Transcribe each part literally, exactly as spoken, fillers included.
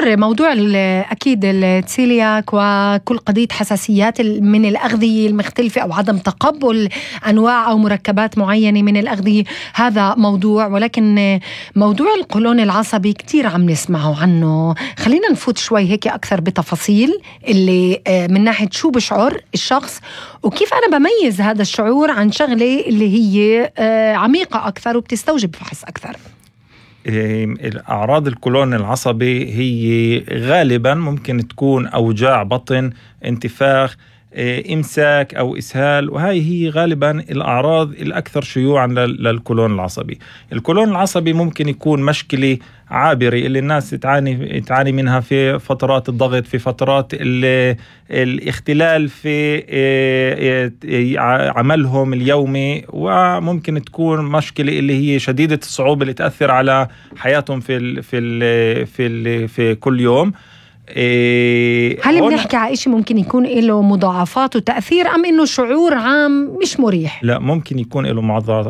دكتور، موضوع أكيد التسيلياك وكل قضية حساسيات من الأغذية المختلفة أو عدم تقبل أنواع أو مركبات معينة من الأغذية هذا موضوع، ولكن موضوع القولون العصبي كتير عم نسمعه عنه. خلينا نفوت شوي هيك أكثر بتفاصيل اللي من ناحية شو بشعر الشخص وكيف أنا بميز هذا الشعور عن شغلة اللي هي عميقة أكثر وبتستوجب فحص أكثر. الأعراض القولون العصبي هي غالبا ممكن تكون أوجاع بطن، انتفاخ، إمساك أو إسهال، وهي هي غالبا الأعراض الأكثر شيوعا للقولون العصبي. القولون العصبي ممكن يكون مشكلة عابرة اللي الناس تعاني تعاني منها في فترات الضغط، في فترات الاختلال في عملهم اليومي، وممكن تكون مشكلة اللي هي شديدة الصعوبة اللي تأثر على حياتهم في ال في ال في ال في كل يوم. هل بنحكي على إشي ممكن يكون له مضاعفات وتأثير أم إنه شعور عام مش مريح؟ لا، ممكن يكون له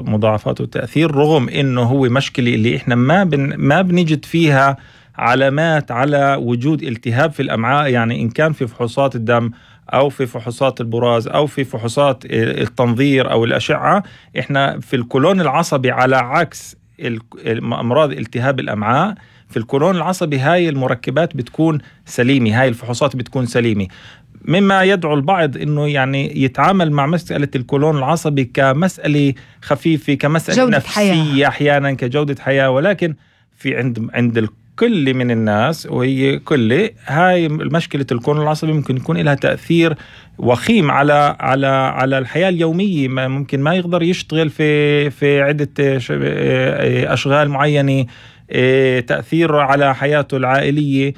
مضاعفات وتأثير، رغم إنه هو مشكلة اللي إحنا ما بن ما بنجد فيها علامات على وجود التهاب في الأمعاء. يعني إن كان في فحوصات الدم أو في فحوصات البراز أو في فحوصات التنظير أو الأشعة، إحنا في القولون العصبي على عكس أمراض التهاب الأمعاء، في القولون العصبي هاي المركبات بتكون سليمة، هاي الفحوصات بتكون سليمة، مما يدعو البعض إنه يعني يتعامل مع مسألة القولون العصبي كمسألة خفيفة، كمسألة نفسية أحيانا، كجودة حياة. ولكن في عند عند الكل من الناس، وهي كل هاي مشكلة القولون العصبي ممكن يكون لها تأثير وخيم على على على الحياة اليومية. ممكن ما يقدر يشتغل في في عدة أشغال معينة، تأثير على حياته العائلية.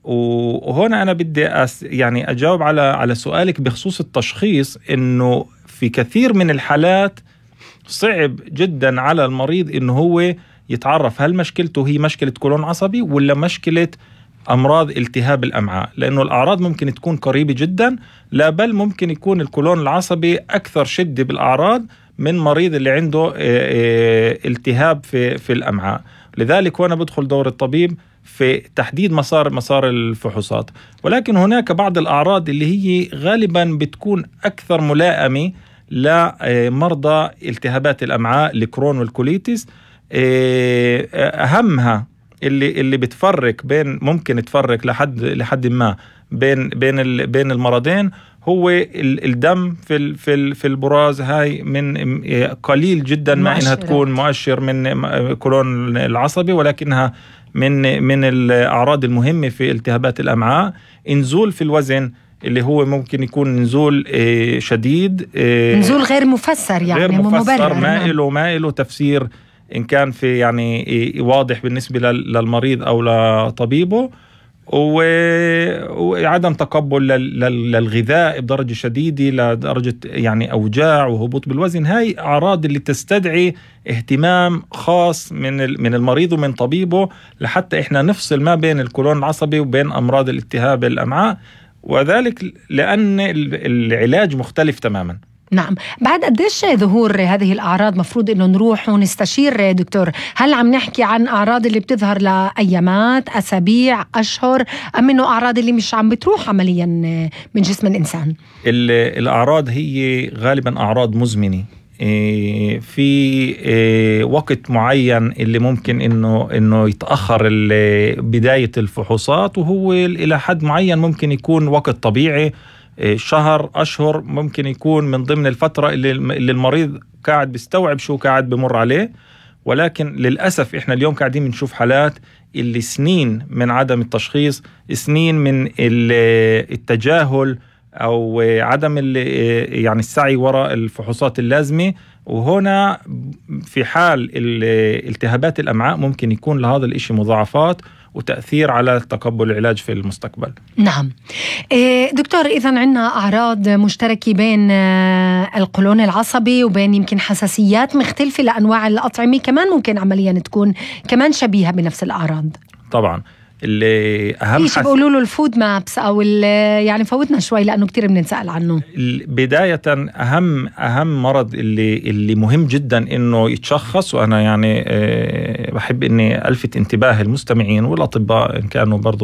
وهنا أنا بدي أس يعني أجاوب على على سؤالك بخصوص التشخيص، إنه في كثير من الحالات صعب جدا على المريض إنه هو يتعرف هل مشكلته هي مشكلة قولون عصبي ولا مشكلة أمراض التهاب الأمعاء، لأنه الأعراض ممكن تكون قريبة جدا، لا بل ممكن يكون القولون العصبي أكثر شدة بالأعراض من مريض اللي عنده التهاب في في الأمعاء. لذلك وانا بدخل دور الطبيب في تحديد مسار مسار الفحوصات. ولكن هناك بعض الأعراض اللي هي غالبا بتكون أكثر ملائمة لمرضى التهابات الأمعاء، الكرون والكوليتس. أهمها اللي اللي بتفرق بين ممكن تفرق لحد لحد ما بين بين بين المرضين هو الدم في في في البراز. هاي من قليل جدا ما انها تكون مؤشر من قولون العصبي، ولكنها من من الاعراض المهمه في التهابات الامعاء. نزول في الوزن اللي هو ممكن يكون نزول شديد، نزول غير مفسر، يعني غير مفسر، ما نعم. له ما له تفسير ان كان في يعني واضح بالنسبه للمريض او لطبيبه، وعدم تقبل للغذاء بدرجة شديدة لدرجة يعني أوجاع وهبوط بالوزن. هاي أعراض اللي تستدعي اهتمام خاص من من المريض ومن طبيبه، لحتى إحنا نفصل ما بين القولون العصبي وبين أمراض الالتهاب الأمعاء، وذلك لأن العلاج مختلف تماما. نعم. بعد قديش ظهور هذه الأعراض مفروض إنه نروح ونستشير دكتور؟ هل عم نحكي عن أعراض اللي بتظهر لأيامات، أسابيع، أشهر، أم إنه أعراض اللي مش عم بتروح عمليا من جسم الإنسان؟ الأعراض هي غالبا أعراض مزمنة في وقت معين اللي ممكن إنه إنه يتأخر بداية الفحوصات، وهو إلى حد معين ممكن يكون وقت طبيعي، شهر، أشهر، ممكن يكون من ضمن الفترة اللي, اللي المريض قاعد بيستوعب شو قاعد بمر عليه. ولكن للأسف إحنا اليوم قاعدين بنشوف حالات اللي سنين من عدم التشخيص، سنين من التجاهل أو عدم يعني السعي وراء الفحوصات اللازمة. وهنا في حال التهابات الأمعاء ممكن يكون لهذا الإشي مضاعفات وتأثير على تقبل العلاج في المستقبل. نعم دكتور، إذن عنا أعراض مشتركة بين القولون العصبي وبين يمكن حساسيات مختلفة لأنواع الأطعمة، كمان ممكن عمليا تكون كمان شبيهة بنفس الأعراض. طبعا اللي أهم حس... بيقولوا له الفود مابس أو يعني فوتنا شوي لأنه كتير بننسأل عنه. بداية أهم أهم مرض اللي اللي مهم جدا إنه يتشخص، وأنا يعني بحب إني ألفت انتباه المستمعين والأطباء إن كانوا برضو